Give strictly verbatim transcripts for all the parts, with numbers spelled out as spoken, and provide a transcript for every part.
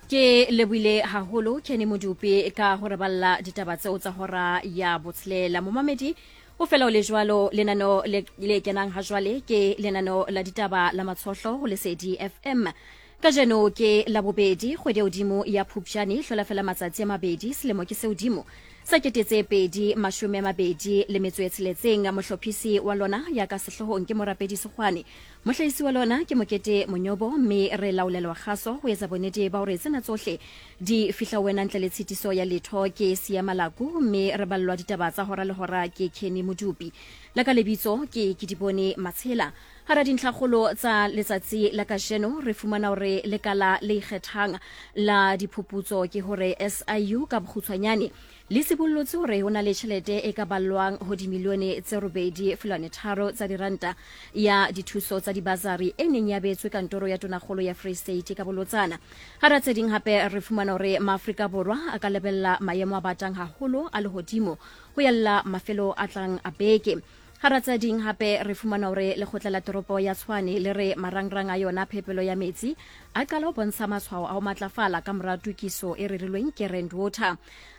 Ke lebohile haholo Kenny Modupi ka ho re balla ditaba tseo tsa hora ya botshelela. Momamedi o fela o le jwalo, lenaneo le, le kenang ha jwale ke lenaneo la ditaba la Matshohlo ho Lesedi F M. Kajeno ke Labobedi, kgwedi ya hodimo ya Phupjane, hlola fela matsatsi a mabedi, selemo ke se hodimo sa kete tse pedi mashome a mabedi le metso e tsheletseng. Mohlophisi wa lona ya ka sehloohong ke Morapedi Sekgwane, mohlahisi wa lona ke Mokete Monyobo, mme re laolelwa kgaso ho etsa bonnete ba hore tsena tsohle di fihla wena ntle le tshitiso ya letho ke Sia Malaku, mme re ballwa ditaba tsa hora le hora ke Kenny Modupi. La ka lebitso ke Kedibone Matshela. Hara dintlhakgolo tsa letsatsi la kajeno re fumana hore lekala le ikgethang la diphuputso ke hore S I U ka bokgutshwanyane le sibollotse hore ho na le tjhelete e ka ballwang ho dimilione tse robedi feelwane tharo tsa diranta ya dithuso tsa dibasari e neng ya beetswe kantoro ya tonakgolo ya Free State ka bolotsana. Hara tse ding hape re fumana hore Maafrika Borwa a ka lebella maemo a batang haholo a lehodimo ho yalla mafelo a tlang a beke. Hara tse ding hape re fumana hore lekgotla la toropo ya Tshwane le re marangrang a yona phepelo ya metsi a qala ho bontsha matshwao a ho matlafala ka mora tokiso e rerilweng ke Rand Water.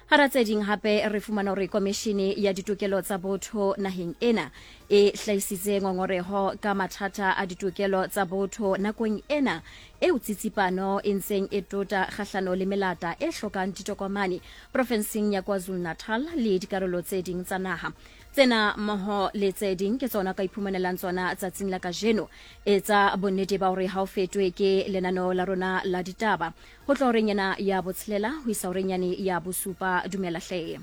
Hara tse ding hape re fumana hore komishene ya ditokelo tsa botho naheng ena e hlahisitse ngongoreho ka mathata a ditokelo tsa botho nakong ena eo tsitsipano e ntseng e tota kgahlano le melata e hlokang ditokomane profenseng ya KwaZulu-Natal le dikarolo tse ding tsa naha. Tsena mmoho le tse ding ke tsona ka iphumanelang tsona tsatsing la kajeno. Etsa bonnete ba hore ha o fetwe ke lenaneo la rona la ditaba ho tloha horeng ena ya botshelela ho isa horeng yane ya bosupa. Dumela hle.